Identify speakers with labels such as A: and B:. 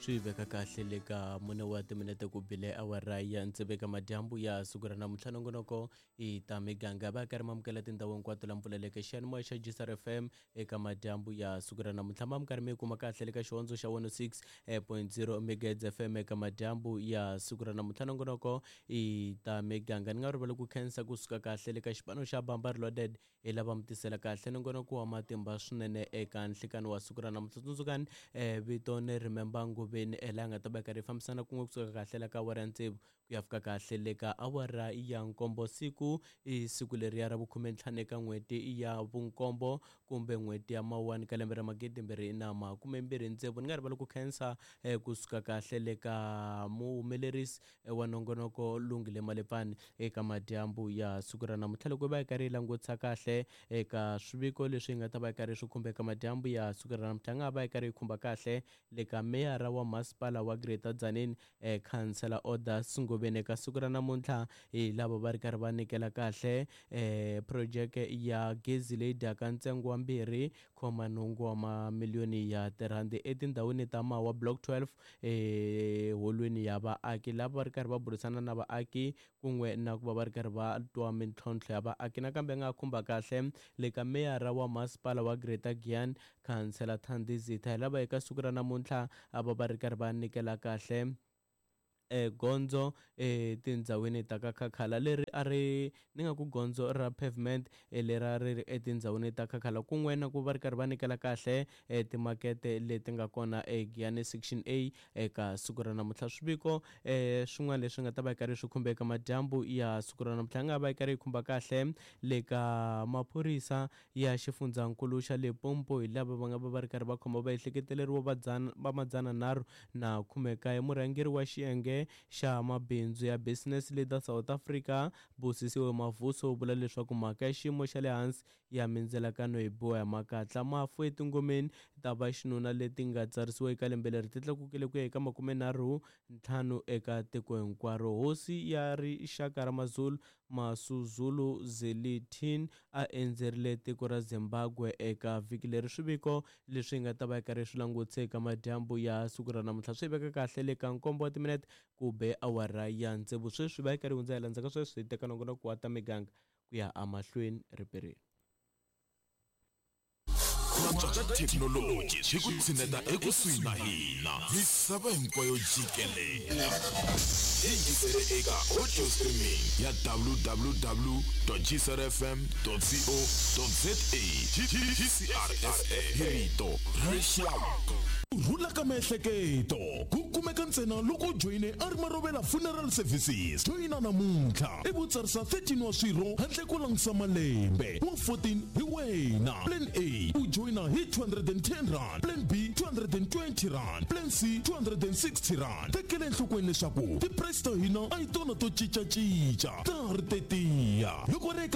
A: Swi veka kahle le ka mune wa timinete ku bile awara ya tsevu eka madyambu ya siku ra namuntlha. Nongonoko i ta miganga va karhi mamukela tindhawu hinkwato la mpfuleleke xiyanimoya xa GCR FM eka madyambu ya siku ra namuntlha. Ma mi karhi mi yi kuma kahle le ka xihondzo xa 106.0 megahertz FM eka madyambu ya siku ra namuntlha. Nongonoko i ta miganga ni nga rivali ku khensa kusuka kahle le ka xipano xa Bamba Reloaded hi lava mi tisela kahle nongonoko wa matimba swinene eka nhlikani wa siku ra namuntlha. Tsundzukani vito ni Remember Ngobeni laha nga ta va yi karhi yi fambisana kun'we kusuka kahle la ka awara ya tsevu ku ya fika kahle le ka awara ya nkombo. Siku i siku leriya ra vukhumentlhanu eka n'hweti ya vunkombo kumbe n'hweti ya mawuwani ka lembe ra magidimbirhi na makumembirhi tsevu. Ni nga rivali ku khensa kusuka kahle le ka muhumelerisi wa nongonoko Lungile Malepfani eka madyambu ya siku ra namuntlha. Loko hi va hi karhi hi langutisa kahle eka swiviko leswi hi nga ta va hi karhi swi khumba eka madyambu ya siku ra namuntlha, hi nga ha va hi karhi hi khumba kahle le ka meyara wa masipala wa Greater Tzaneen Khansela Odas Ngobeni. Eka siku ra namuntlha hi lava va ri karhi va nyikela kahle phurojeke ya gezi leyi dyaka ntsengo wa 2.8 wa mamiliyoni ya tirhandi etindhawini ta Mawa Block 12 eholweni ya vaaki, lava va ri karhi va burisana na vaaki kun'we na ku va va ri karhi va twa mintlhontlho ya vaaki. Nakambe nga khumba kahle le ka meyara wa masipala wa Greater Giyani Khansela Thandi Zitha, hi lava eka siku ra namuntlha a va va ri karhi va nyikela kahle gondzo etindhawini ta ka Khakhala leri a ri ni nga ku gondzo ra pavement leri a ri ri etindhawini ta Khakhala, kun'we na ku va ri karhi va nyikela kahle timakete leti nga kona eGiyani Section A eka siku ra namuntlha. Swiviko swin'wana leswi nga ta va yi karhi swi khumba eka madyambu ya siku ra namuntlha nga va yi karhi yi khumba kahle le ka maphorisa ya xifundzankulu xa Limpopo, hi lava va nga va va ri karhi va khoma vaehleketeleriwa va dzana va madzana nharhu na khumekaye. Murhangeri wa xiyenge xa mabindzu ya Business Leader South Africa Busisiwe Mavuso u vula leswaku mhaka ya xiyimo xa le hansi ya mindzelakano hi biwa hi makatla. Mafu etingomeni ta vaxinuna leti nga tsarisiwa eka lembe leri ti tlakukile ku ya eka 35 eka tiko hinkwaro. Hosi ya rixaka ra Mazulu Masuzulu Zwelithini a endzerile tiko ra Zimbabwe eka vhiki leri. Swiviko leswi hi nga ta va hi karhi swi langutise eka madyambu ya siku ra namuntlha swi veka kahle le ka nkombo wa timinete ku be awara ya tsevu. Sweswi va yi karhi hundza hi landzaka sweswi hi teka nongonoko wa ta miganga ku ya emahlweni riperini.
B: Ku antswa ka thekinoloji swi ku tshineta ekusuhi na hina misava hinkwayo jikelele. Yingisele eka audio streaming ya www.gcrfm.co.za. GCRFM hi rito ra rixaka. Ku rhula ka miehleketo ku kumeka ntsena loko u joyine Arma Rovela Funeral Services. Joyina namuntlha ivi u tsarisa 13 wa swirho handle ko langutisa malembe. Wa 14 hi wena. Plan A u joyina hi 210 rand, Plan B 220 rand, Plan C 260 rand. Tekela enhlokweni leswaku ti-price ta hina a hi tona to cincacinca, ta ha ri tetiya. Loko ri eka.